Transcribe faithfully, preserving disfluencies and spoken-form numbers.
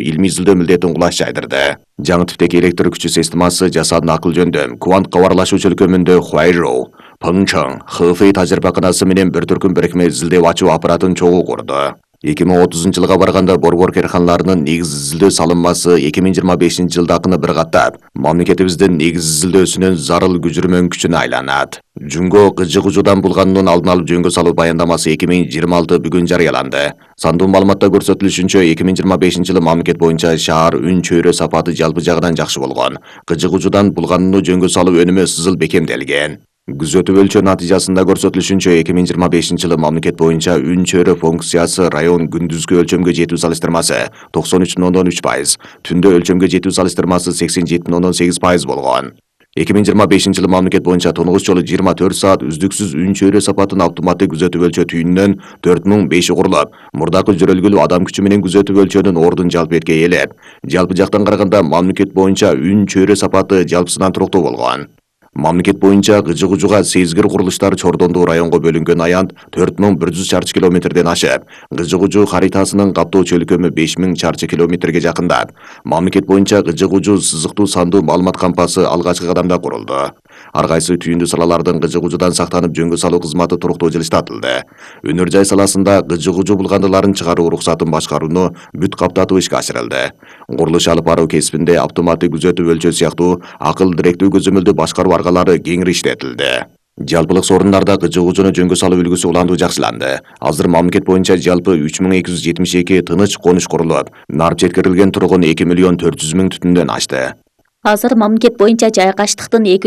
илмий изилдөө милдетин кулаш жайдырды. Жаңы типтеги электр күчү системасы жасаатын акыл жөндөм квант кабарлашуу чөлкөмүндө Huairou, Pengcheng, Hefei тажрыйбаканасы менен бир түркүм бирикме изилдөө ачуу аппаратын чогуу курду. эки миң отузунчу жылга барганда борбор карханаларынын негиз изилдөө салынмасы эки миң жыйырма бешинчи жылдакыны бир каттап, мамлекетибиздин негиз изилдөөсүнүн зарыл күжүрмөн күчүнө айланат. Жунго кыжы кужудан булгануунун алдын алып жөнгө салуу баяндамасы эки миң жыйырма алты бүгүн жарыяланды. Сандуу маалыматта көрсөтүлүшүнчө эки миң жыйырма бешинчи жылы мамлекет боюнча шаар үн чөйрө сапаты жалпы жагынан жакшы болгон. Кыжы кужудан булганууну жөнгө салуу өнүмү сызыл бекемделген. Күзөтүү өлчөө натыйжасында көрсөтүлүшүнчө эки миң жыйырма бешинчи жылы мамлекет боюнча үн чөйрө функциясы район күндүзгү өлчөмгө жетүү салыштырмасы токсон үч бүтүн ондон үч пайыз, түндө өлчөмгө жетүү салыштырмасы сексен жети бүтүн ондон сегиз пайыз болгон. эки миң жыйырма бешинчи жылы мамлекет боюнча тунугус жолу жыйырма төрт саат үздүксүз үн чөйрө сапатын автоматтык күзөтүп өлчөө түйүнүнөн төрт миң беши курулуп, мурдакы жөрөлгүлүү адам күчү менен күзөтүп өлчөөнүн ордун жалпы этке ээлеп, жалпы жактан караганда мамлекет боюнча үн чөйрө сапаты жалпысынан туруктуу болгон. Мамлекет боюнча кыжы кужуга сезгир курулуштар Чордондуу районго бөлүнгөн аянт төрт миң бир жүз чарчы километрден ашып, кыжы кужу харитасынын каптоо чөлкөмү беш миң чарчы километрге жакындап, мамлекет боюнча кыжы кужу сызыктуу сандуу маалымат кампасы алгачкы кадамда курулду. Ар кайсы түйүндүү салалардын кыжы кужудан сактанып жөнгө салуу кызматы туруктуу жылыштатылды. Өнөр жай саласында кыжы кужу булгандыларын чыгаруу уруксатын башкарууну бүт каптатып ишке ашырылды. Курулуш алып баруу кесибинде автоматтык күзөтүп өлчөө сыяктуу акыл директүү көзөмөлдүү башкаруу аргалары кеңири иштетилди. Жалпылык сорундарда кыжы кужуну жөнгө салуу үлгүсү улантуу жакшыланды. Азыр мамлекет боюнча жалпы үч миң эки жүз жетимиш эки тыныч конуш курулуп, нарып жеткирилген тургун эки миллион төрт жүз миң түтүндөн ашты. Азыр мамлекет боюнча жайгаштыктын эки